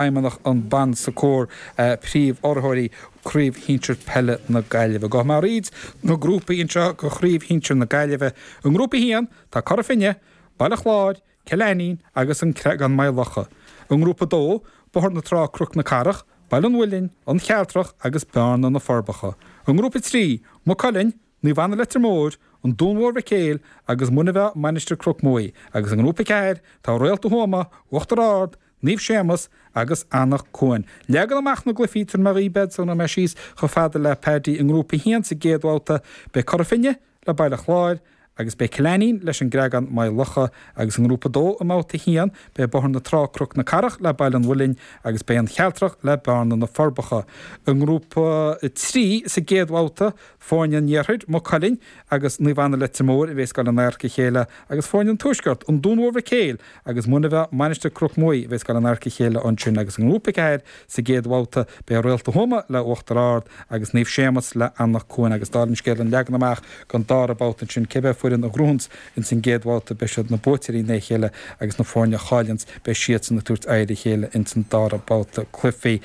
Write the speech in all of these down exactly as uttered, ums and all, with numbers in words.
Feidhmeannach an Bon Secours, príomh-urraitheoirí Craobh Shinsir Peile na Gaillimhe. Gabhfaidh mé thríd na grúpaí anseo go Chraobh Shinsir na Gaillimhe. I nGrúpa a haon, tá Cora Finne, Baile Chláir, Cill Ainnín agus an Creagán Maigh Locha. I nGrúpa a dó, Bóthar na Trá Cnoc na Cathrach, Baile an Mhuilinn, An Chealtrach agus Bearna na Forbacha. I nGrúpa a trí, Maigh Cuilinn, Naomh Anna Leitir Móir, An Dún Mór Mhic Éil agus Muine Mheá Mainistir Cnoc Muaidhe agus i nGrúpa a ceathair tá Réalta Thuama, Uachtar Ard, Naomh Séamus agus Anach Cuain. Leagan amach na gcluichí tabharfaidh mé dhaoibh iad sula mbeidh mé síos chomh fada le Paddy i nGrúpa a haon sa gcéad bhabhta. Beidh Cora Finne le Baile Chláir agus beidh Cill Ainnín leis an gCreagán Maigh Locha agus i nGrúpa a dó i mbabhta a haon beidh Bóthar na Trá Cnoc na Cathrach le Baile an Mhuilinn agus beidh An Chealtrach le Bearna na Forbacha. I nGrúpa a trí sa gcéad bhabhta foirne an Iarthair, Maigh Cuilinn agus Naomh Anna Leitir Móir a bheas ag dul in adharca a chéile agus foirne an Tuaiscirt, An Dún Mór Mhic Éil agus Muine Mheá Mainistir Cnoc Muaidhe a bheas ag dul in adharca a chéile ansin agus i nGrúpa a ceathair sa gcéad bhabhta beidh Réalta Thuama le Uachtar Ard agus Naomh Séamus le Anach Cuain agus dála an scéil an leagan amach don dara babhta ansin cibé foireann a ghnóthaíonns ins an gcéad bhabhta beidh siad na buaiteoirí ina chéile agus na foirne a chailleanns beidh siadsan ag tabhairt aghaidh ar a chéile ins an dara babhta cluichí.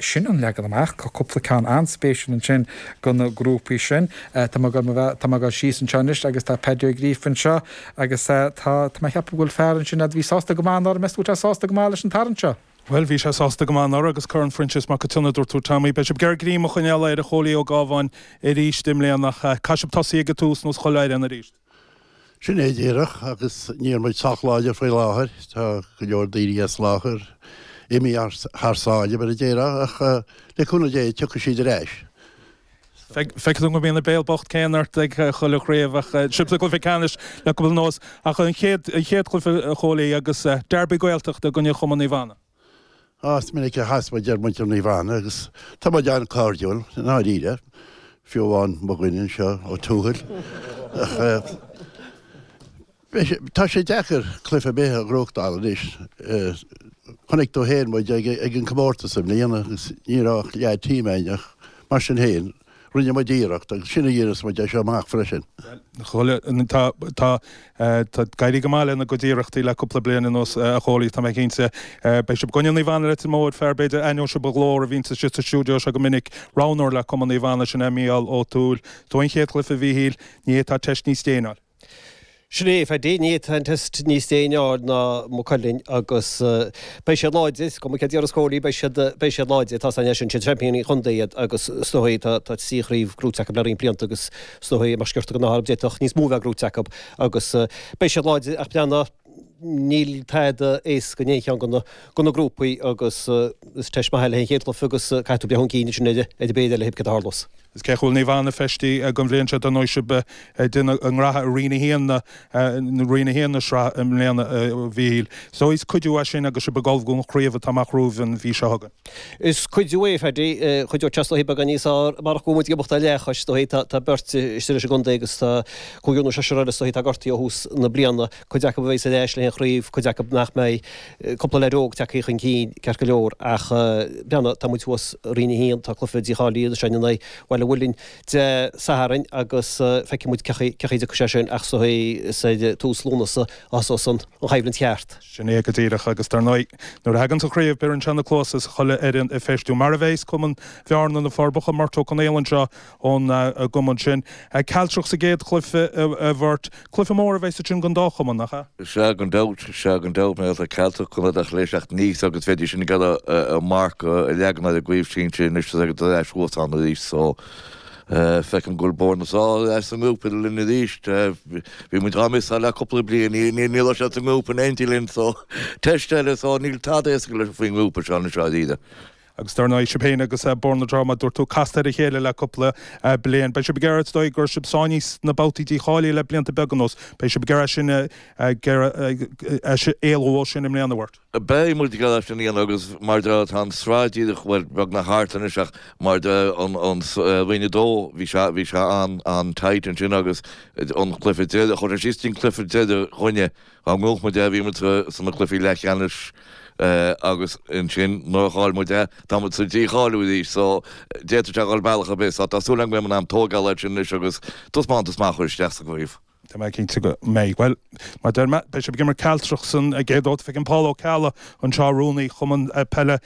Sin an leagan amach tá cúpla ceann an-spéisiúil ansin go na grúpaí sin. Tá mé tá mé ag dul síos anseo anois agus tá Paddy Ó Gríofa anseo agus tá tá mé ag ceapadh go bhfuil fear ansin a bhí sásta go maith anuraidh meas tú tá sásta go maith leis an tarraingt seo. Well bhí sé sásta go maith anuraidh agus Corn Phroinsias Mac Cionnaith dúirt tú Tommy, beidh sibh ag iarraidh greim a choinneáil ar a Chóilí Ó Gábháin arís i mbliana ach caithfidh sibh tosaí ag an tús nó chuile fhoireann arís. Sin é díreach agus níl muid sách láidir faoi láthair tá go leor daoine as láthair imithe thar sáile mar a déarfá ach le cúnamh Dé tiocfaidh siad ar ais. Feicfidh tú go mbíonn an béal bocht céanna ort ag chuile chraobh ach sibh sa gcluiche ceannais le cúpla nós ach an chéad an chéad chluiche a Chóilí agus Derby Gaeltachta i gcoinne Chumann Naomh Anna. Á is minic a chas muid ar muintir Naomh Anna agus tá muid an-chairdiúil i ndáiríre, fiú amháin mo dhuine anseo Ó Tuathail. Ach tá sé deacair cluiche ar bith a ghnóthachtáil anois. Chonaic tú féin muid ag ag an comórtas i mbliana agus ní raibh ach leath team againn ach mar sin féin rinne muid iarracht agus sin a dhéanfas muid é seo amach freisin. Chuile tá tá tá ag éirí go maith lena gcuid iarrachtaí le cúpla bliain anuas a Chóilí tá mé cinnte. Beidh sibh i gcoinne Naomh Anna Leitir Móir fear b'fhéidir aithneoidh sibh a ghlór a bhíonn sa sa stiúideo seo go minic roghnóir le Cumann Naomh Anna sin é Mícheál Ó Tuathail. Tó an chéad chluiche a Mhíchíl ní tá teist níos déine. Sin é Phaddy ní tá an test níos déine ná Maigh Cuilinn agus beidh siad láidir go cé dtíar scóí beidh siad beidh siad láidir tá san sin siad seaimpíní chontae iad agus is dóigh tá tá trí chraobh gnóite acu le roinnt blianta agus is dóigh mar sciorta go ná d'fhéadfadh níos mó bheith gnóite acu agus beidh siad láidir ach breathnaigh níl tada éasca in aon cheann de na grúpaí agus is teist maith le an chéad chluiche agus caithfidh tú breith chun cinn sin ar ar bith eile cé tharlós. Is cé bhfuil Naomh Anna feistithe don bhliain seo don sibh déanamh an ngraithe a Roinn a haon na Roinn a haon na sraith i mbliana Mhíchíl. So is cuidiú é sin agus sibh ag ullmhú don chraobh atá amach romhaibh an mhí seo chugainn. Is cuidiú é Phaddy chuideodh sé is beagán níos fearr marach go bhfuil muid ag imeacht ar leathchois is dóigh tá beirt istigh leis an gcontae agus tá cúigear nó seisear eile is dóigh tá gortaithe ó thús na bliana cuid acu a bheidh ar ais le an chraobh cuid acu nach mbeidh cúpla leaid óg tagtha chun cinn ceart go leor ach breathnaigh tá muid thuas Roinn a haon tá cluiche dícháilithe sin in aghaidh Bhaile Mhuilinn Dé Sathairn agus feicfidh muid cé chaoi a dtiocfaidh sé sin ach so is ar tús Lúnasa a thosós an choimhlint cheart. Sin é go díreach agus dar ndóigh nuair a thagann sa chraobh beireann sé na cluasa is chuile fhoireann ag feistiú mar a bheas Cumann Bhearna na Forbacha Murt Ó Conaola anseo ón gcumann sin. Cealtrach sa gcéad chluiche a Mhurt. Cluiche mór a bheas sin don dá chumann nach ea? Sea gan dabht, sea gan dabht mé tá Cealtrach chun a léiseacht níos agus bheidís sin ag a marc a leagan ar an gcraobh sinsir anois agus ar ais thuas ann arís so feicim go bhfuil Bord na Sá as an ngrúpa linn arís bhí muid dhá mhíosa le cúpla bliain ní ní raibh sé sa ngrúpa in éindí linn so teist eile so níl tada éasca leis faoin ngrúpa seo anseo dáiríre. Agus dar ndóigh sibh féin agus Bord na Trá dúirt tú casta ar a chéile le cúpla bliain. Beidh sibh ag iarraidh dóigh gur sibh sáinnithe sna babhtaí dícháilithe le blianta beaga anuas. Beidh sibh ag iarraidh sin éalú ó sin i mbliana Murt. Beidh muid ag iarraidh sin a dhéanamh agus mar tá an tsraith díreach bhuel beagnach thart anois ach mar an an Roinn a dó bhí sé bhí sé an an tight ansin agus an cluiche deireadh chuir sé síos an cluiche deireadh chuinne dá ngnóthódh muid é bhí muid sna cluichí leathcheannais agus ansin nuair a chaill muid é tá muid sa dícháiliú arís so d'fhéadfadh sé dhul bealach ar bith so tá súil agam go mbeidh an am tógáil sin anois agus taispeántas maith a chur isteach sa gcraobh. Tá mé cinnte go mbeidh. Bhuel, mar deir mé, beidh sibh ag imirt Cealtrach san gcéad babhta. Feicim Paul Ó Ceallaigh anseo, rúnaí Chumann Peile